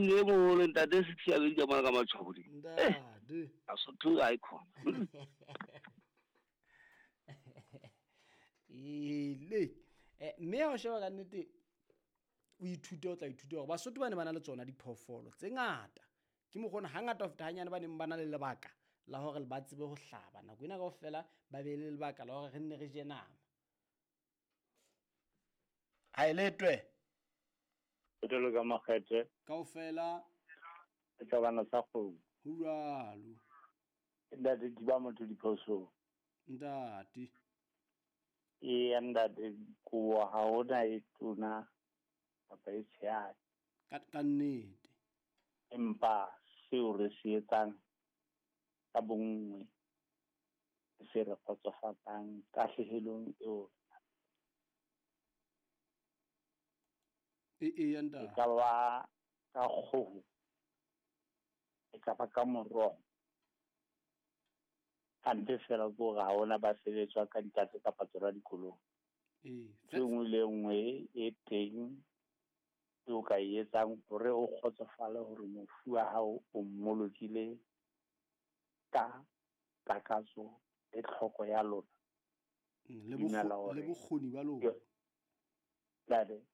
King e moholo ntate Sethiabedi ka mona ka matshwabodi. Ntate. A sotho a ikhona. Ele. Mme ha o sheba ka nnete o ithute o tla ithuta hore Basotho ba ne ba na le tsona diphoofolo tse ngata. Ke mokgona hangata ho feta hanyane ba neng ba na le lebaka la hore ba tsebe ho hlaba. Nako ena kaofela ba be le lebaka la hore re nne re je nama. Ha e letwe. Jwalo ka makgethe. Kaofela. Setlabana sa kgomo. Ho jwalo. Ntate diba motho diphoso. Ntate. Eya ntate, kobo ha hona e tona kapa e tshehadi. Ka nnete. Empa seo re se etsang ka bonngwe se re kgotsofatsang tahlehelong eo. Eya ntate. E ka ba ka kgoho, e ka ba ka moroho. Hampe fela ke hore ha hona ba sebetswa ka dikatse kapa tsona dikolong. E nngwe le nngwe e teng eo ka e etsang hore o kgotsofale hore mofu wa hao o mmolokile ka takatso le tlhoko ya lona. Le bokgoni ba lona.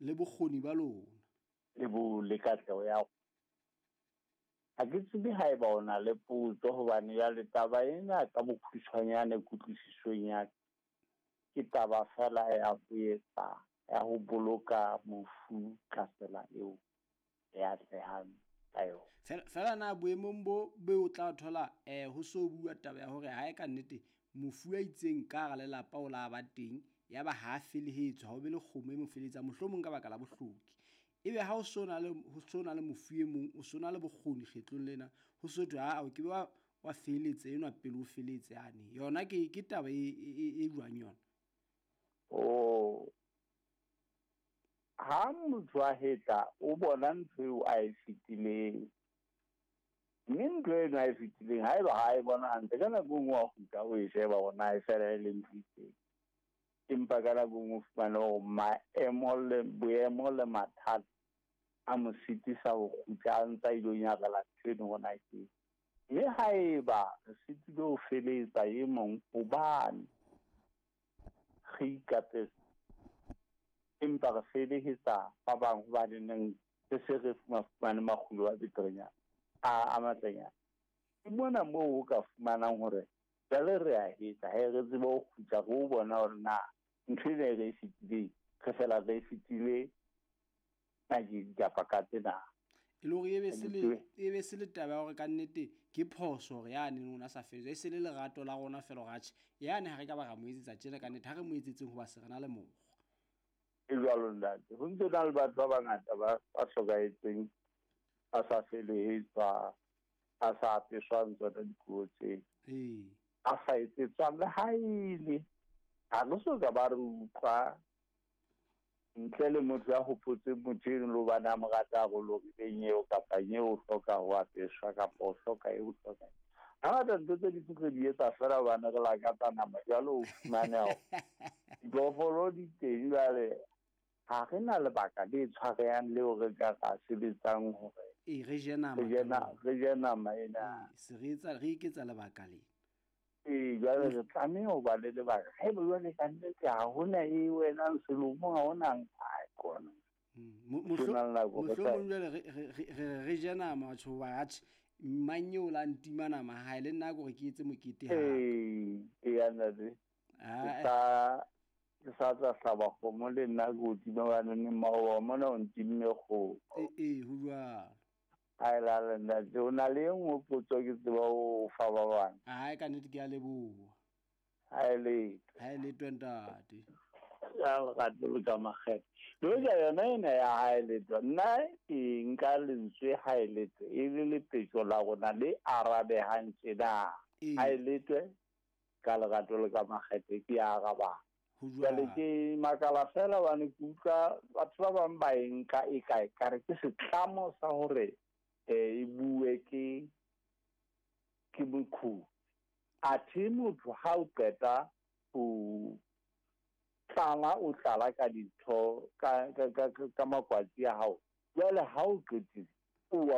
Le bokgoni ba lona. Le bo le katleho ya. Ha ke tsebe haeba o na le potso hobane jwale taba ena ka bokhutshwanyane kutlwisisong ya ke taba fela ya ho etsa ya ho boloka mofu ka tsela eo e atlehang ka yona. Fela na boemong bo be o tla thola ho so bua taba ya hore ha e ka nnete mofu a itseng ka hara lelapa o la ba teng ya ba ha felehetswe ha o be le kgomo e mo feletsa mohlomong ka baka la bohloki. Ebe ha o so na le mofu e mong o so na le bokgoni kgetlong lena ho so thwe ha o ke wa feletse enwa pele o feletse ane yona ke taba e jwang yona. Oh, ha motho a hetla o bona ntho eo a e fetileng, mme ntho eno a e fetileng haeba ha e bona hantle ka nako e nngwe wa kgutla o e sheba hore na e fela e le ntho e itseng, empa ka nako e nngwe o fumane hore maemo le boemo le mathata a mo sitisa ho kgutla a ntsa ilo nyarela ntho eno hore na ke. Mme haeba re sitilwe ho feletsa e mong hobane re ikapesa, empa re felehetsa ba bang hobane neng re se re fumane makgulo a beterenyana a matlenyana. Ke mona moo o ka fumanang hore jwale re a hetla he re tsebe ho kgutla re o bona hore na ntho ena e re e fetileng re fela re e fetile nakedi kapa ka tsena. E le hore e be se le taba ya hore ka nnete ke phoso hore yane o na sa feletswa, e se le lerato la rona fela hore atjhe yane ha re ka ba ra mo etsetsa tjena ka nnete ha re mo etsetseng hoba se re na le mokgwa. E jwalo ntate, ho ntse na le batho ba bangata ba hlokahetseng ba sa felehetswa, ba sa apeswang tsona dikobo tse. A sa etsetswang le ha ele ha re so ka ba re utlwa ntle le motho ya hopotseng motho eno le hobane a mo rata haholo rileng eo kapa eo o hloka ho apeswa kapa o hloka eo o hloka. Hangata ntho tse ding re di etsa fela hobane re lakatsa nama jwale o fumane hore diphoofolo di teng jwale ha re na lebaka le tshwarehang leo re ka ra sebetsang hore re je nama re je nama ena. Se re etsa re iketsa lebaka le. Jwale re tlameha ho ba le lebaka. Haeba jwale ka nnete ha hona e wena selomong ha hona nka kona. Mohlomong jwale re je nama batho ba atjhe mang eo la ntima nama ha le nna ke hore ke etse mokete ha. Eya ntate. Ke sa tla hlaba kgomo le nna ke o tima hobane maoba mona o ntimme kgomo. Ho jwalo. Ai la la ntate, o na le e nngwe potso ke tseba ho fa ba bang. Ai ka nnete ke a leboha. Ha e letho. Ha e letho ntate. Ya lerato le ka makgethe. Le hoja yona ena ya ha e letho, nna ke nka lentswe ha e letho e le lepetjo la rona le arabehang tjena. Ha e letwe ka lerato le ka makgethe ke a arabang. Jwale ke makala fela hobane ke utlwa batho ba bang ba e nka e kae ka re ke setlamo sa hore e bue ke mokhubi. Athe motho ha o qeta ho tlala o tlala ka dintho ka makwatsi a hao. Jwale ha o qetile